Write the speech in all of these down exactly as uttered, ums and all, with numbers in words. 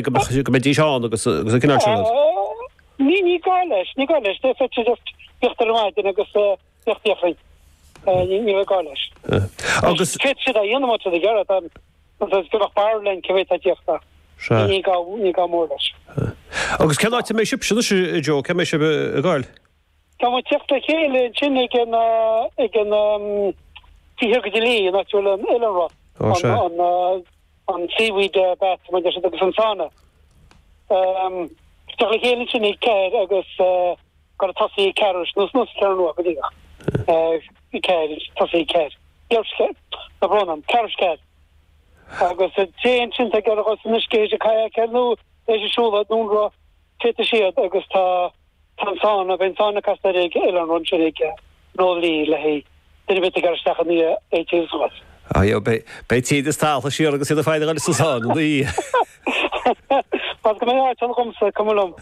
Go mbeidís ann agus agus an cineál sin rud. Ní ní gá leis, ní gá leis, féadfaidh siad just tíocht ar maidin agus tíocht iachrainn. Ní ní gá leis. Agus Féadfaidh siad a dhéanamh má tá siad ag iarraidh, tá go mbeadh barúil linn cé mhéad atá ag tíocht ach Sea. ní gá ní gá mór leis. Agus cén áit a mbeidh sibhse anois, a Joe, cá mbeidh sibh ag gabháil? Tá muid ag tíocht le chéile ansin ag an ag an taobh thiar go dtí Laoi, an áit a bhfuil an Oileánra, Ó, sea. an an an seaweed bath mar a deir siad agus an sauna. Teacht le chéile ansin ag ceathair agus gur tosaí ag ceathair nó nó ceathair nua go díreach. Ceathair tosaí ag ceathair. Tá brón orm, ceathair ceathair. Agus téann sin ag ar san uisce é kayak nó é siúl nó féadfaidh siad agus tá tá an sauna bheidh an sauna casta ag Oileánra ansin ag nó lí le hé duine bit ag isteach an é tíús. Ah, jo, beidh tíad is talta siar agus iad ag fáil sa sauna ní. Pas go mbeidh áit ann agamsa cuma liom.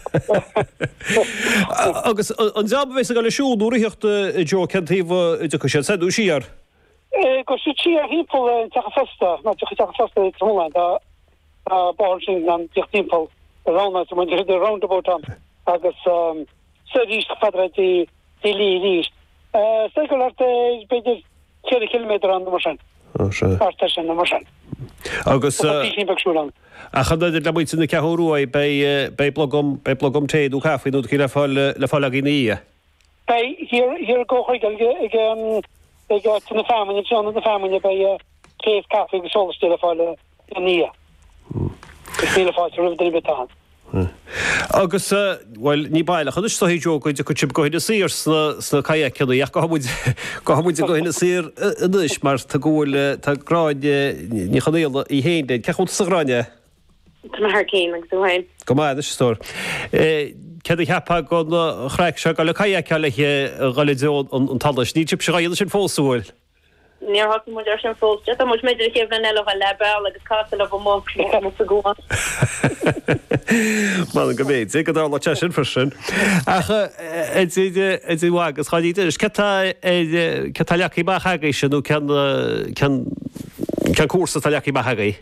Agus an dream a bheas ag dul ag siúl nó ag ritheacht a Joe cén taobh a dtiocfaidh siad soir nó siar? Gabhfaidh siad siar thimpeall an teach feasta, ná teach teach feasta i Tromlán tá tá bóthar sin an teach timpeall round the roundabout ann agus soir arís fada dtí dtí Laoi arís. Sé go thart b'fhéidir ceithre chiliméadar ann nó mar sin. Ó, sea. Thart ar sin nó mar sin. Agus Tá písín beag siúil ann. ach an le muintir na Ceathrún Rua beidh beidh blogam beidh blogam tae nó caife nó le fáil le fáil agaibh ina dhiaidh. Beidh thiar thiar i gComhchuig ag ag ag áit na feamainne ionad na feamainne beidh tae is caife agus sólaistí le fáil ina dhiaidh. Is míle fáilte roimh duine ar bith ann. Agus bhuel ní baileach anois so Joe go dtiocfaidh sibh go hInis Oírr sna sna kayakanna ach gabhfaidh muid gabhfaidh muid go hInis Oírr anois mar tá go bhfuil tá Gráinne Ní Chonaola í féin linn. Cén chaoi a bhfuil tusa a Ghráinne? Tá mé thar cinn agus tú féin. Go maith anois a stór. Céard a cheapfá den chraic seo dul ag kayakáil le dhul i dtreo an tsolais. Níl sibhse dhá dhéanamh sin fós an bhfuil? Níor thosaigh muid ar sin fós. Tá muid b'fhéidir an chéad bhliain eile le beal agus casa le bheith amuigh sa gcuan. Mar go mb'fhéidir go dtarlódh sé sin freisin. Ach idir agus chaidí cé tá cé tá leagtha amach agaibhse nó cén cén cén cúrsa atá leagtha amach agaibh?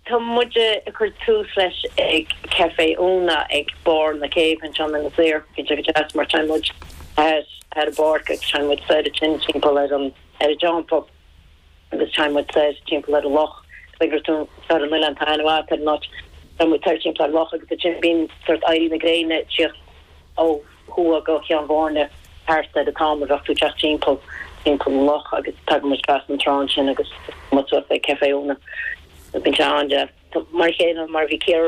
Tá muid ag cur tús leis ag Café Úna ag barr na céibhe anseo in Inis Oírr. Bíonn sé go deas mar téann muid ar ar an bpáirc agus téann muid soir ansin timpeall ar an ar an dteampall agus téann muid soir timpeall ar an loch. B'fhéidir tú ar an oileán tá an-mhaith ar an áit. Téann muid soir timpeall ar an loch agus ansin bíonn sort éirí na gréine ag tíocht ó thuaidh go Ceann Bhoirne thart ar an t-am a bheadh tú ag teacht timpeall timpeall an loch agus tagann muid trasna an trá ansin agus muid suas ag Café Úna. Bíonn sé an-deas. Mar a chéile mar a bhí Ciara